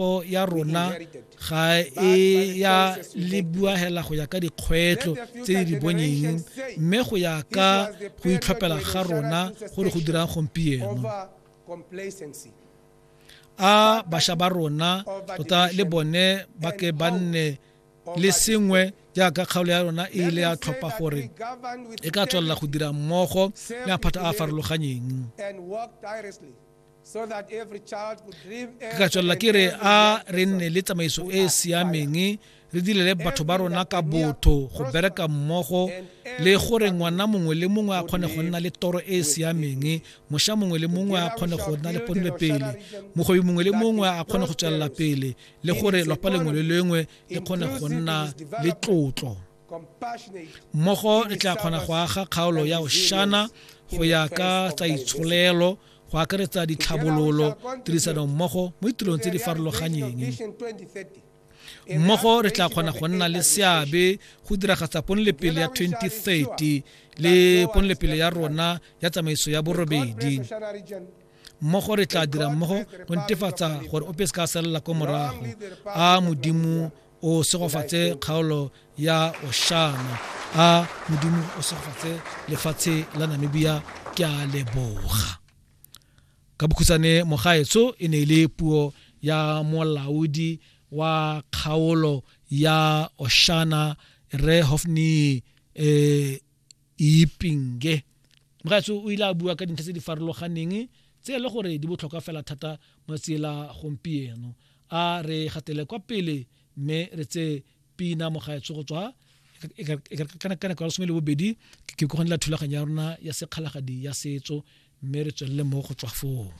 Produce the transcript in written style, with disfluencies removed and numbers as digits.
Katlego ya rona ga e ya lebiwa hela go ya ka dikgwetlho tse di di bonyeng mme go ya ka go itlhophela ga rona gore go dirang gompieno. A bašwa ba rona tota le bone ba ke ba nne le sengwe jaaka kgaolo ya rona e ile ya tlhopha gore e ka tswelela go dira mmogo le maphata a a farologanyeng. Ke ka tswelela ke re a re nne le tsamaiso e e siameng re direle batho ba rona ka botho go bereka mmogo le gore ngwana mongwe le mongwe a kgone go nna le toro e e siameng mošwa mongwe le mongwe a kgone go nna le ponelopele mogwebi mongwe le mongwe a kgone go tswelela pele le gore lwapa lengwe le lengwe le kgone go nna le tlotlo mmogo re tla kgona go aga kgaolo ya oshana go ya ka tsa itsholelo go akaretsa ditlhabololo tirisano mmogo mo ditirong tse di farologanyeng mmogo re tla kgona go nna le seabe go diragatsa ponelepele ya 2030 le ponelepele ya rona ya tsamaiso ya borobedi mmogo re tla dira mmogo go netefatsa gore ope se ka salela ko morago a modimo o segofatse kgaolo ya oshana a modimo o segofatse lefatshe la namibia ke a leboga ka bokhutshwane mogaetso e ne e le puo ya molaodi wa kgaolo ya oshana re hofni eh, Iipinge. Mogaetsho o ile a bua ka dintlha tse di farologaneng tse e le gore di botlhokwa fela thata mo tsela gompieno. A re gatele kwa pele mme re tse pina mogaetsho go tswa ka nako ya lesome le bobedi ke go la thulaganyo ya rona ya sekgalagadi ya setso mme re tswelele mo go tswa foo.